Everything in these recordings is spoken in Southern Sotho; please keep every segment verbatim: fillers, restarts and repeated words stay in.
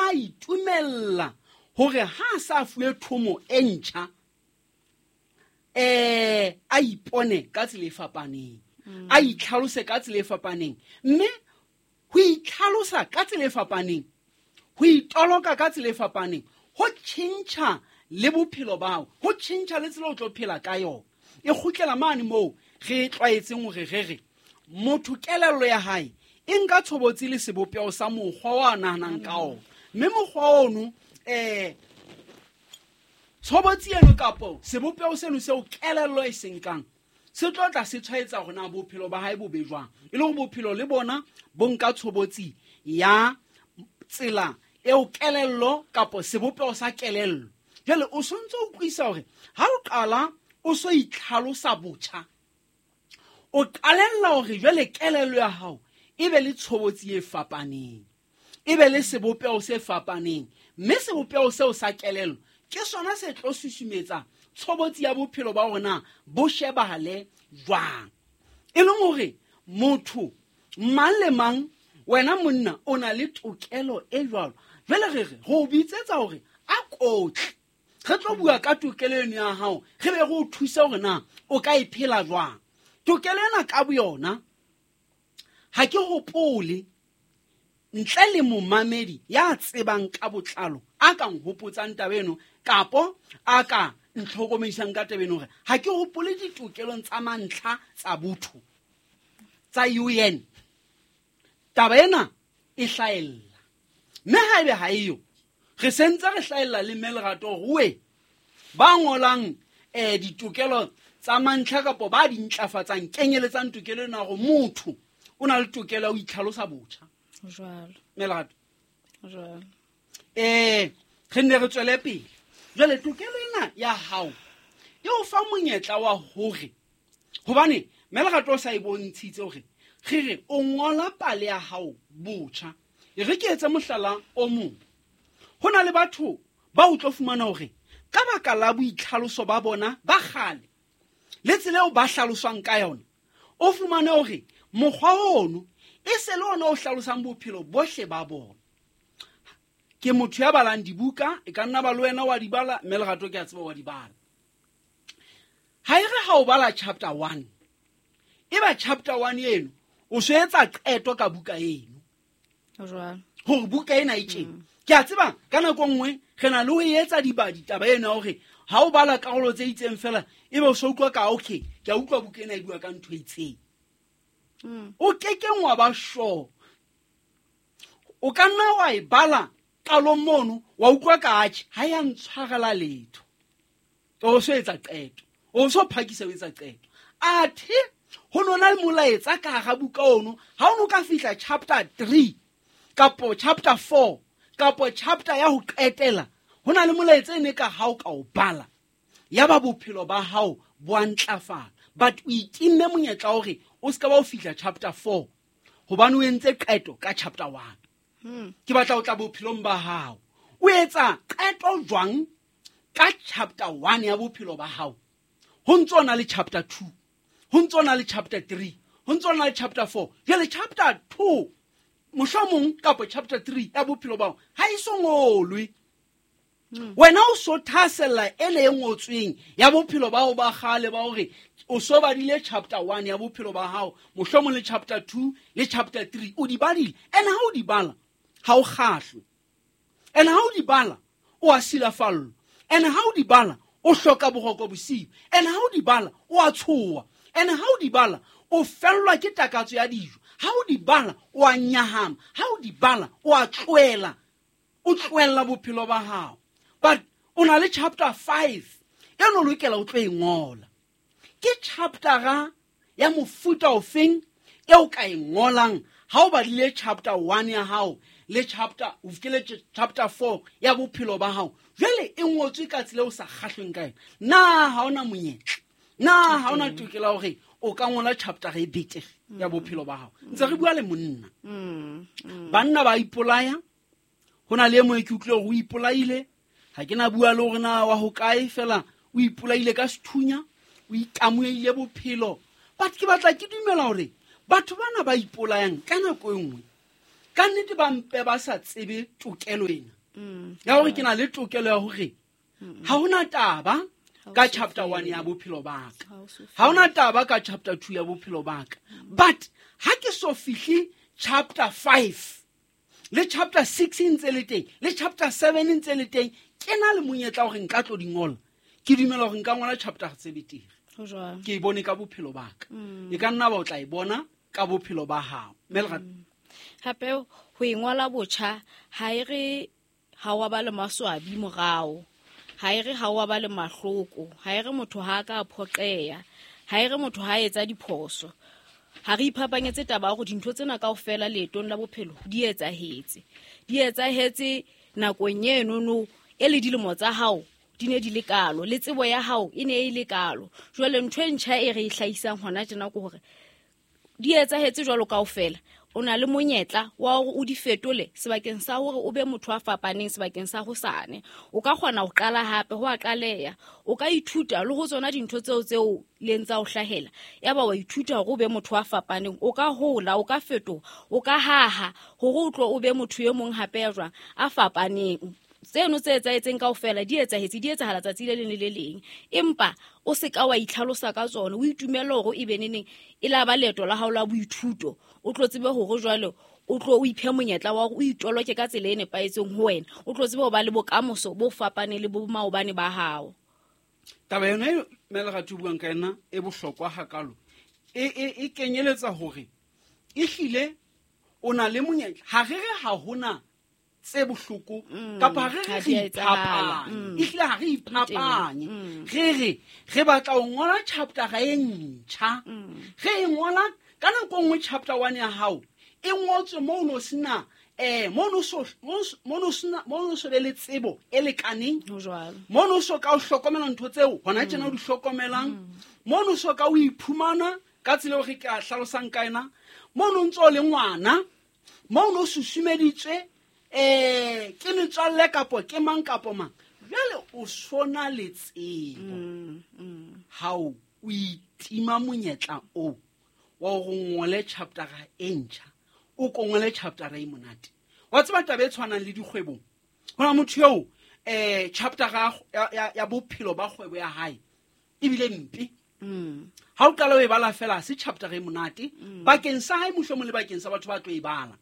a itumella hore ha sa fuwe thomo e ntjha eh a ipone ka tsela e fapaneng, a itlhalose ka tsela e fapaneng, mme ho itlhalosa ka tsela e fapaneng, ho itoloka ka tsela e fapaneng, ho tjhentjha le bophelo ba hao, ho tjhentjha le tsela o tlo phela ka yona. E kgutlela mane moo re tlwaetseng hore re re motho kelello ya hae e nka tshobotsi le sebopeho sa mokgwa wa nahanang ka ona, mme mokgwa ono eh tshobotsi eno kapo sebopeho seno seo kelello e se nkang se tlo tla se tshwaetsa hore na bophelo ba hae bo be jwang, e le hore bophelo le bona bo nka tshobotsi ya tsela eo kelello kapo sebopeho sa kelello. Jwale o sontse o utlwisa hore ha o qala o so itlhalosa botjha, o qalella hore jwale kelello ya hao e be le tshobotsi e fapaneng, e be le sebopeho se fapaneng, mme sebopeho seo sa kelello ke sona se tlo susumetsa tshobotsi ya bophelo ba rona bo shebahale jwang. E leng hore motho mang le mang, wena monna o na le tokelo e jwalo. Jwale re re go bitsetsa hore a kotle, re tlo bua ka tokelo eno ya hao, re be re o thuse hore na o ka e phela jwang. Tokelo ena ka boyona ha ke hopole ntle le momamedi ya tsebang ka botlalo a ka nhopotsang taba eno kapo a ka ntlhokomedisang ka taba eno, hore ha ke hopole ditokelong tsa mantlha tsa botho tsa U N taba ena e hlahella. Mme haebe ha eyo, re sentse re hlahella le mme Lerato hore we ba ngolang eh ditokelo tsa mantlha kapo ba di ntlafatsang kenyeletsang tokelo ena hore motho o na le tokelo ya ho itlhalosa botjha. Jwalo. Mme Lerato. Jwalo. Eh re nne re tswele pele. Jwale tokelo ena ya hao e o fa monyetla wa hore, hobane mme Lerato o sa e bontshitse hore re re o ngola pale ya hao botjha. E re ke etse mohlala o mong. Ho na le batho ba o tlo fumana hore ka baka la boitlhaloso ba bona ba kgale le tsela eo ba hlaloswang ka yona, o fumane hore mokgwa ono e se le ona o hlalosang bophelo bohle ba bona. Ke motho ya balang dibuka, e ka nna ba le wena wa di bala, mme Lerato ke a tseba wa di bala. Ha e re ha o bala chapter one, e ba chapter one eno o so etsa qeto ka buka eno. Jwalo. Hore buka ena e tjena. Ke a tseba ka nako nngwe re na le ho etsa dibadi taba ena hore ha o bala karolo tse itseng fela ebe o so utlwa ka okay, ke a utlwa buka ena e bua ka ntho e itseng. Mm. O kekeng wa ba sure. O ka nna wa e bala qalong mono wa utlwa ka atjhe ha ya ntshwarela letho. O so etsa qeto, o so phakisa o etsa qeto. Athe ho nona le molaetsa ka hara buka ono, ha o no ka fihla chapter three kapo chapter four kapo chapter ya ho qetela, ho na le molaetsa e ne ka ha o ka o bala ya ba bophelo ba hao bo a ntlafala. But o itimme monyetla hore o ska ba o fihla chapter four hobane o entse qeto ka chapter one. Hmm. Ke batla ho tla bophelong ba hao. O etsa qeto jwang ka chapter one ya bophelo ba hao? Ho ntso na le chapter two, ho ntso na le chapter three, ho ntso na le chapter four. Jwale chapter two mohlomong kapa chapter three ya bophelo ba hao ha e so ngolwe. Hmm. Wena o so thasella e le e ngotsweng ya bophelo ba hao ba kgale ba hore o so badile chapter one ya bophelo ba hao, mohlomong le chapter two le chapter three o di badile. Ene ha o di bala ha o kgahlwe, ene ha o di bala o a silafallwa, ene ha o di bala o hloka boroko bosiu, ene ha o di bala o a tshoha, ene ha o di bala o fellwa ke takatso ya dijo, ha o di bala o a nyahama, ha o di bala o a tlohela, o tlohella bophelo ba hao. But o na le chapter five e no lokela o tlo e ngola. Ke chaptera ya mofuta ofeng e o ka e ngolang ha o badile chapter one ya hao le chapter, o fihlile chapter four ya bophelo ba hao, jwale e ngotswe ka tsela o sa kgahlweng ka yona. Na ha ona monyetla, na ha ona tokelo ya hore o ka ngola chapter e betere ya bophelo ba hao? Ntse re bua le monna. Mm, mm. Banna ba ipolaya. Ho na le e mong ke utlwile hore o ipolaile. Ha ke na bua le hore na wa hokae, fela o ipolaile ka sethunya, o ikamohile bophelo. But ke batla ke dumela hore batho bana ba ipolayang ka nako e nngwe ka nnete ba mpe ba sa tsebe tokelo ena. Ya hore ke na le tokelo ya hore ha hona taba ka chapter one ya bophelo ba ka, ha hona taba ka chapter two ya bophelo ba ka, but ha ke so fihle chapter five le chapter six ntse le teng le chapter seven ntse le teng, ke na le monyetla hore nka tlo di ngola. Ke dumela hore nka ngola chapter tse betere. Ke e bone ka bophelo ba ka, e ka nna ba o tla e bona ka bophelo ba hao. Mme Lerato, hape ho e ngola botjha ha e re ha wa ba le maswabi morao, ha e re ha wa ba le mahloko, ha e re motho ha ka phoqeya, ha e re motho ha etsa diphoso. Ha re iphapanyetse taba ya hore dintho tsena kaofela leetong la bophelo di etsahetse, di etsahetse nakong enono e le dilemo tsa hao di ne di le kalo, le tsebo ya hao e ne e le kalo. Jwale ntho e ntjha e re e hlahisang hona tjena ke hore di etsahetse jwalo kaofela, o na le monyetla wa hore o di fetole sebakeng sa hore o be motho a fapaneng sebakeng sa hosane. O ka kgona ho qala hape, ho a qaleha, o ka ithuta le ho tsona dintho tseo tseo leng tsa ho hlahela, yaba wa ithuta hore o be motho a fapaneng. O ka hola, o ka fetoha, o ka haha hore o tlo o be motho e mong hape ya jwang a fapaneng. Tseno tse etsahetseng kaofela di etsahetse, di etsahala tsatsi le leng le le leng, empa o se ka wa itlhalosa ka tsona. O itumelle hore e be neneng e la ba leeto la hao la boithuto, o tlo tsebe hore jwale o tlo o iphe monyetla wa hore o itoloke ka tsela e nepahetseng ho wena, o tlo tsebe ho ba le bokamoso bo fapaneng le bo maobane ba hao. Taba yona e mme Lerato buang ka yona e bohlokwa hakalo, e, e, e kenyeletsa hore ehlile o na le monyetla. Ha re re ha hona tse bohloko kapa re re re iphapanye, ehlile ha re iphapanye, re re re batla ho ngola chapter e ntjha, re e ngola ka nako nngwe chapter one ya hao e ngotswe moo no sena eh moo no so moo no sena moo no so be le tsebo e lekaneng, moo no so ka o hlokomela ntho tseo hona tjena o di hlokomelang, moo no so ka o iphumana ka tsela eo re ka hlalosang ka yona, moo no ntso le ngwana, moo no susumeditswe eh ke metswalle kapo ke mang kapo mang. Jwale o sona le tsebo hao o itima monyetla o wa hore o ngole chapter e ntjha, o ko ngole chapter e monate. Wa tseba taba e tshwanang le dikgwebong, ho na motho eo eh chapter ya ya bophelo ba kgwebo ya hae ebile mpe. Ha o qala o e bala fela se chapter e monate bakeng sa hae mohlomong le bakeng sa batho ba tlo e bala,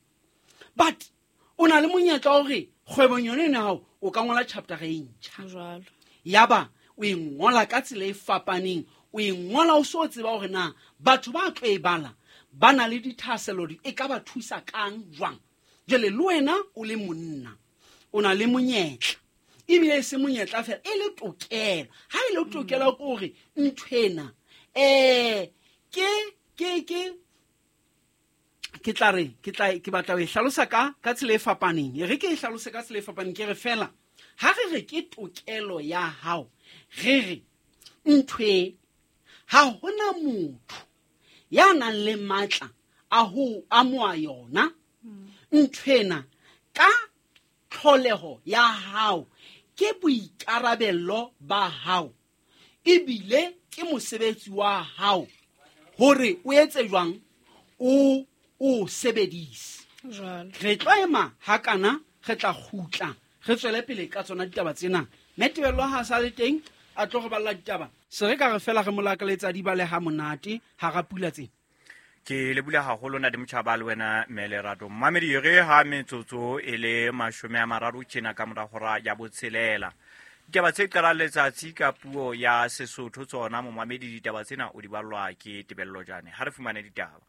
but o na le monyetla wa hore kgwebong yone ena hao o ka ngola chapter e ntjha, yaba o e ngola ka tsela e fapaneng, o e ngola o so tseba hore na batho ba tlo e bala ba na le dithahasello di e ka ba thusa kang jwang. Jwale le wena o le monna o na le monyetla, ebile e se monyetla fela e le tokelo. Ha e le tokelo ke hore nthwena eh ke ke ke ke tla re ke tla ke batla ho e hlalosa ka ka tsela e fapaneng. E re ke e hlalose ka tsela e fapaneng, ke re fela ha re re ke tokelo ya hao, re re nthwe ha hona motho ya nang le matla a ho amoha yona nthwena ka tlholeho ya hao, ke boikarabello ba hao ebile ke mosebetsi wa hao hore o etse jwang o o sebedise. Re tlo ema hakana, re tla kgutla re tswele pele ka tsona ditaba tsena. Mme Tebello ha sa le teng a tlo re balla ditaba, se re ka re fela re molakaletsa di bale ha monate hara pula tsena. Ke le bula haholo na di motjhaba le wena mme Lerato. Mmamedi re ha metsotso e le mashome a mararo tjena ka mora hora ya botshelela. Ditaba tse qalang letsatsi ka puo ya Sesotho tsona momamedi, ditaba tsena o di ballwa ke Tebello Jane. Ha re fumane ditaba.